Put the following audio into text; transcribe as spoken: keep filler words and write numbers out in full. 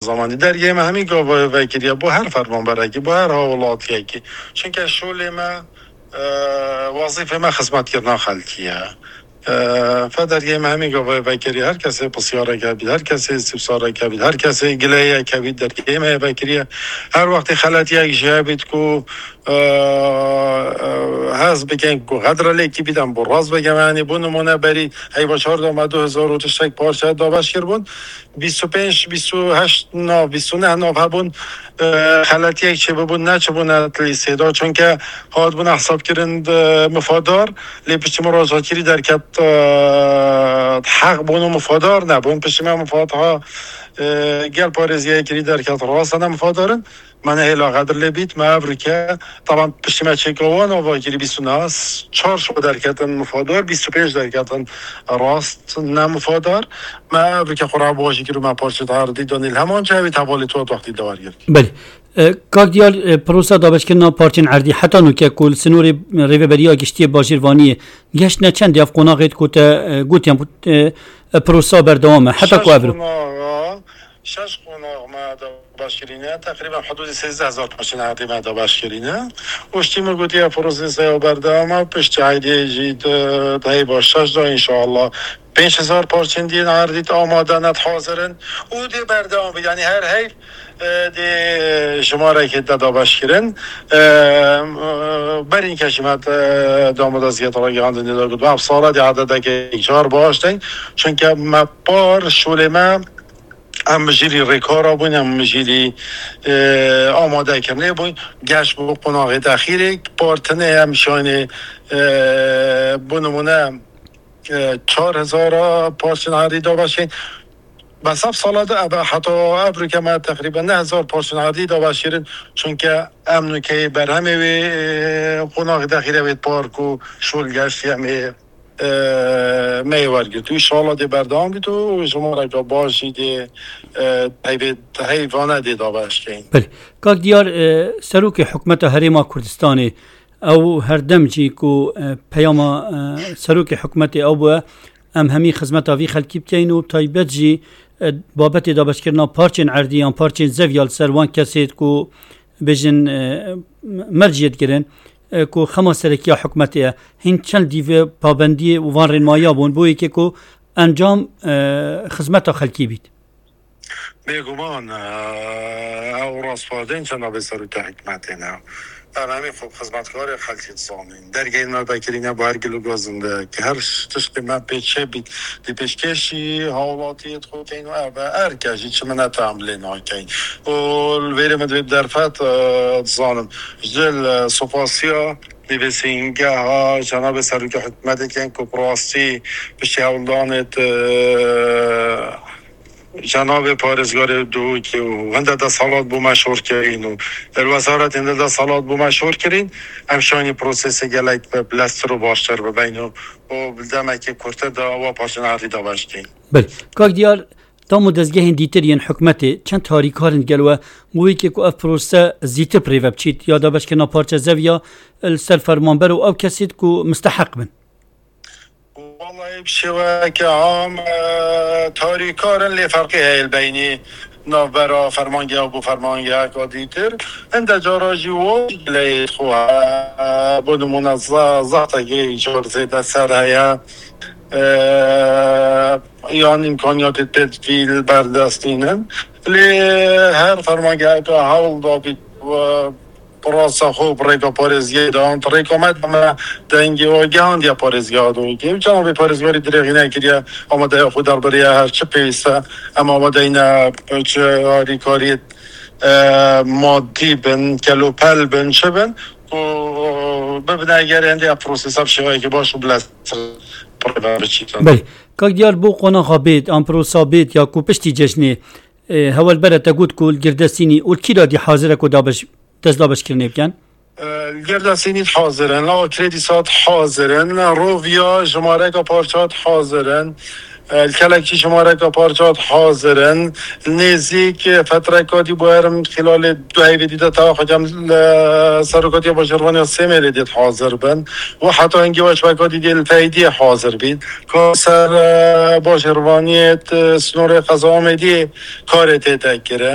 zamanî. Dergehê me hemî gava vekiriye bo her fermanberekî, bo her hawlatiyekî. Çunke şolê me, e, wezîfê me xizmetkirina xelkî ye. E, fe dergehê me hemî gava vekiriye. Her kesê pisyareke bît, her kesê sipsareke bît, her kesê gileyeke bît, dergehê me vekiriye. Her wextê xeletiyek ji hebît ku, e, e, hez bikin ku xedre lêkî bît, em bo rast vegem, yanî bo nimûne berî heyva çar de me du hezar û tiştek parçe dabeş kiribûn. Bîst û pênc, bîst û heşt nav, bîst û neh nav hebûn, e, xeletiyek çêbibûn, neçibûne lîstê de. Çunke hatibûne hesabkirin, e, mifadar, lê piştî min rojhilkirî derket, e, heq bûn û mifadar nebûn. Piştî me mifadha, e, gel parêziyekirî derket, rastene mifadarin. Me nehêla xedir lê bît, me evrike, taban piştî me çêka wan ava kirî bîst û neh, çar şo derketin mifadar, bîst û pênc derketin rast ne mifadar. Me evrike xwe re bajî kir û me parçe erdî danî li heman cihê wî, hevalê tu hat wextî dawar girk. Belê. E, Kak Diyar, e, prosa dabeşkirina parçên erdî heta nûke ku li sinorê rêveberiya giştî yê bajêr Vaniyê geştine çend ev qonaxê ku te, e, gotiyan, e, e, prosa berdewam e heta ku ev ro? Şeş qonaxa, şeş qonax me dabeş kirîne, teqrîben hudûdê sêzdeh hezar parçên erdî me dabeş kirîne. Û ştî min gotiye, proseseya berdewam e, piştî eydê jî di, di heyva şeş de, înşallah, pênc hezar parçên dîn erdî amade ne, hazir in û dê berdewam be. Yanî her heyv, e, dê jimarekê de dabeş kirin. E, e, berîn ke jî me, e, damodaziyet ragihandinê de got, ev sala dê ededeke car baş deyn. Çunke me par şolê me em mijîlî rêkara bûn, em mijîlî, e, amadekirinê bûn. Geş bo qonaxê dexîrê, par tinê em şanê, e, bo nimûne, e, çar hezara parçên erdî dabeşên. Bes ev sala de, ev, heta ev rûke me teqrîben neh hezar parçên erdî dabeşkirin. Çunke em nûkeyê berhemê wê, e, qonaxê dexîre wê park û şol geştî em ê, e, me yê wergirt. Înşallah dê berdewam bît û jimareke baş jî dê, e, heyvê, heyvane dê dabeşkeyin. Belê. Kak Diyar, e, Serokê Hikûmeta Herêma Kurdistanê, ew her dem jî ku, e, peyama, e, Serokê Hikûmetê ew bûye, em hemî xizmeta vî xelkî bikeyin û taybet jî, e, babetê dabeşkirina parçên erdî yan parçên zeviya li ser wan kesê ku bêjin, e, merciyê digirin, e, ku xema serekiya hikûmetê ye. Hîn çend dîve pabendiyê û van rênmayiya bûn bo yekê ku encam, e, xizmeta xelkî bît? Bêguman, e, ew rastpartên cenabê serokê hikûmetê ne. Em hemî xwe bi xizmetkarê xelkê dizanîn. Dergehên me vekirîne bi her gil û gazin de, ki her tiştê me pê çê bît, di pêşkêşî hawlatiyê dixwe keyn û ev e, erke jî çi minete em lê nakeyn. Û li vêrê min divê bi derfet, e, dizanim. Ji dil, e, supasiya nivîsîngeha cenabê serokê hikûmetê ken ku bi rastî piştî hewldanê, e, cenabê parêzgarê Duhokê û hinde desthilat bo me şor kirîn û li wezaretên de desthilat bo me şor kirîn, em şanî prosesê gelek bi bileztir û baştir bibeyn û, û bi demekê kurtir de wa parçên erdî dabeş keyn. Belê. Kak Diyar, dam û dezgehên dîtir yên hikûmetê çend harîkar in gel we bo yekê ku ev prose zîtir bi rê ve biçît ya dabeşkirina parçe zeviya li ser fermanber û ew kesêt ku misteheq bin? Wallahî bi şêweyeke am, e, tarîkar in, lê ferqê heye li beynî navbera fermangeha bo fermangeheka dîtir. Hinde cara jî wo leyê xwe, e, bo nimûne za-, zehtekê îcar zêde ser heye, e, yan îmkaniyatê tedbîl berdestînin. Lê her fermangeheka hewl dabît, e, bi rasta xwe bi rêka parêziyê de an, rêka me de me dengê we gihandiye parêzgeha Duhokê. Û cenabê parêzgarî dirêxî nekiriye, amadeya xwe derbiriye, her çi pêwîst e, em amadeyne çi harîkariyê, e, madî bin, kelopel bin, çi bin, û bibine eger hindê ev prosesa bi şêweyekî baş û bileztir bi rê ve biçîtin. Belê. Kak Diyar, bo qonaxa bêt, an prosa bêt ya ku piştî cejnê, e, hewelbere te got ku li Girdesînî û li kî de dî hazir e ku dabeş-, dest dabeşkirinê bikin? E, li Girdesînî hazir in, li Akrê dîsa hazir in, Roviya jimareka parça hazir in, e, li Kelekçî jimareka parça hazir in, li nêzîk, e, fetreka dî bo herim xîlalê du heyvê dî de tewa xwe kem li Serokatiya Bajarvaniya Sêmêlê dê hazir bin. Û heta hingê weşbeka dî dê li Feydiyê hazir bît. Ka ser, e, Bajarvaniyê, e, sinorê qeza Amêdiyê karê tête kirin.